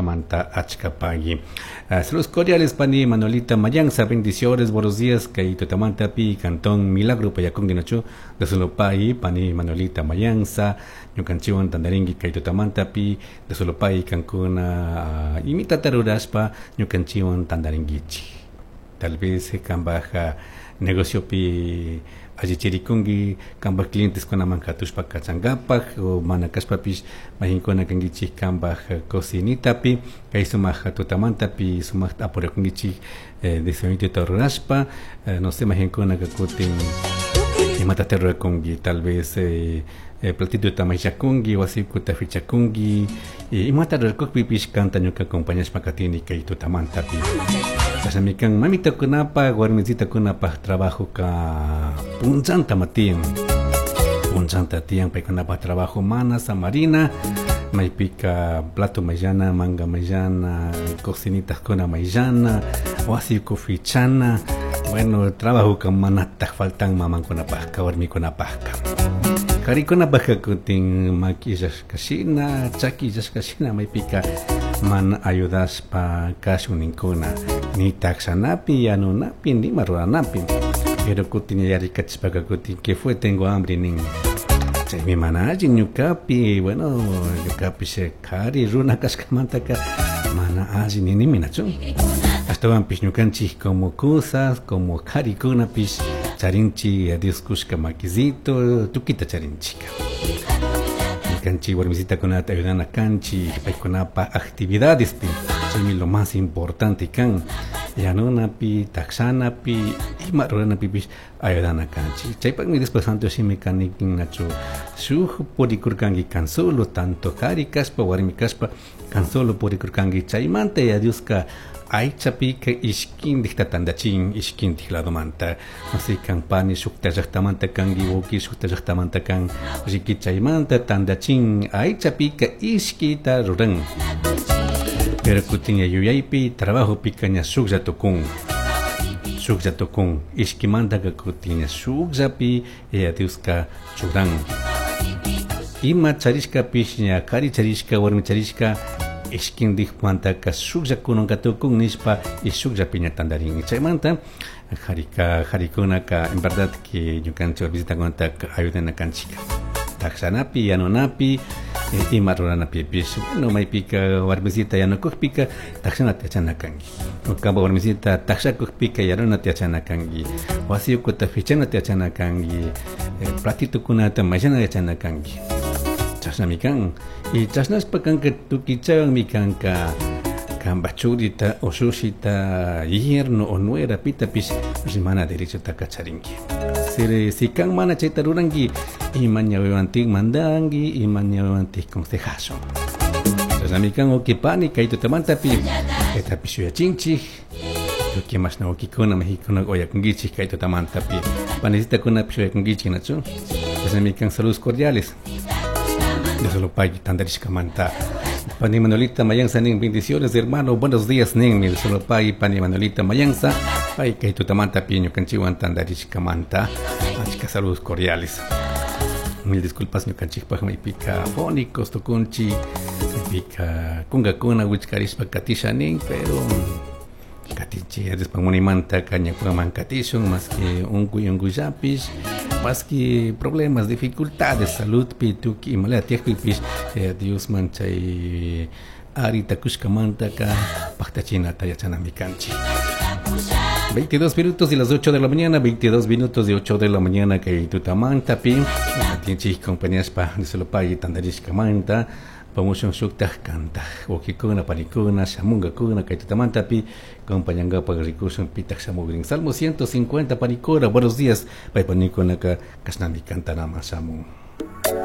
tandarishkamanta achka pagui. Saludos cordiales pani Manuelita Mayanza, bendiciones, buenos días, kay tutamantapi cantón Milagro Payacungi nachu, de Solopai, pani Manuelita Mayanza, ñukanchikwan tandarinki kay tutamantapi, de Solopai kankuna imitata rurashpa ñukanchikwan tandarinkichik. Tal vez kambaj negociopi allichirikunki kanpaj clienteskunaman katushpa kachankapak o mana kashpapish mayqinkuna kankichik kanpaj cocinitapi kay sumaq tutamantapi sumaqta apurakunkichik desayunitota rurashpa, no sé, mayqinkunaka kutin imatata rurakunki, tal vez platitota mayllakunki, wasikuta fichakunki, imata rurakukpipish kanta ñuka acompañashpa katini kay tutamantapi. Chashnami kan mamitakunapaj warmisitakunapaj trabajoka punchantama tiyan, punchanta tiyan paykunapaj trabajo mana samarina, maypika plato mayllana, manga mayllana, cocinitakuna mayllana, wasiku fichana, bueno, trabajoka manataj faltan mamankunapajka warmikunapajka. Qharikunapajka kutin maki illashka shina, chaki illashka shina maypika mana ayudashpa kashun ninkuna, ni takshanapi, yanunapi, nima ruranapi, pero kutin yarikachishpaka kutin que fue tengo hambre nin. Chaymi mana allin ñukapi, bueno, ñukapish qhari runa kashkamantaka mana allin ninimi nachu. Ashtawanpish ñukanchik como cosas, como qharikunapish charinchik Dios kushka makisito, tukita charinchik. Ñukanchik warmisitakunata ayudana kanchik paykunapa actividadespi, chaymi lo más importante kan, yanunapi, takshanapi, ima ruranapipish ayudana kanchik. Chaypakmi Diospa Santo Shimi kanikin nachu shuk purikurkanki kan solo, tanto qhari kashpa warmi kashpa kan solo purikurkanki, chaymanta ya Dioska aychapika ishkindikta tandachin, ishkindik ladomanta, no kan pani shukta llaqtamanta kanki, wawki shukta llaqtamanta kan, riki chaymanta tandachin aychapika ishkita ruran. Pero kutin yuyaypi trabajopika ña shuklla tukun, shuklla tukun, ishkimantaka kutin ña shukllapi ya Dioska churan. Ima charishkapish ña qhari charishka warmi charishka ishkindikmantaka shuklla kunanka tukun nishpa y shukllapi ña tandarin. Chaymanta qharika qharikunaka en verdad que ñukanchik visitakunataka ayudana kanchik takshanapi, yanunapi, ima ruranapipish. Bueno, maypika warmisita yanukukpika takshanata yachana kanki, kanpa warmisita takshakukpika yanunata yachana kanki, wasi ukuta fichanata yachana kanki, platitukunata mayllana yachana kanki. Chashnami kan. Y chashnashpa kanka tukichawanmi kanka kanpa churita o shushita yerno o nuera pitapish rimana derechotaka charinki. Si kan mana chayta ruranki, ima ñawiwantik mandanki, ima ñawiwantik consejashun. Chashnami kan wawqipani kay tutamantapi kaytapish yuyachinchik, tukuy mashna wawqikuna majikuna uyakunkichik kay tutamantapi, panisitakunapish uyakunkichik nachu. Chashnami kan, saludos cordiales. De solo pay tandarishkamanta. Pani Manuelita Mayanza nin, bendiciones hermano, buenos días nin, mi solo pay pani Manuelita Mayanza, pay kay tutamanta pi ñukanchikwan tandarishkamanta, achka saludos cordiales. Mil disculpas ñukanchikpaj maypika fónicos tukunchik, maypika kunkakuna wichkarishpa katisha nin, pero katinchik Diospa munimanta ñukaman katishun, más que unkuy unkullapish, más que problemas, dificultades, saludpi tukuy imalaya tiyakpipish, Diosman chay arita kushkamantaka paktachinata yachanami kanchik. 22 minutos de las 8 de la mañana, 22 minutos de 8 de la mañana kay tutamantapi, atinchik compañíaspa Disolopay tandarishkamanta, pamushun shuktaj kantaj, wawqikuna, panikuna, shamunkakuna kay tutamantapi, acompañankapak rikushun pitaj shamugrin. Salmo 150 panikuna, buenos días, pay panikunaka kashnami kantanaman shamun.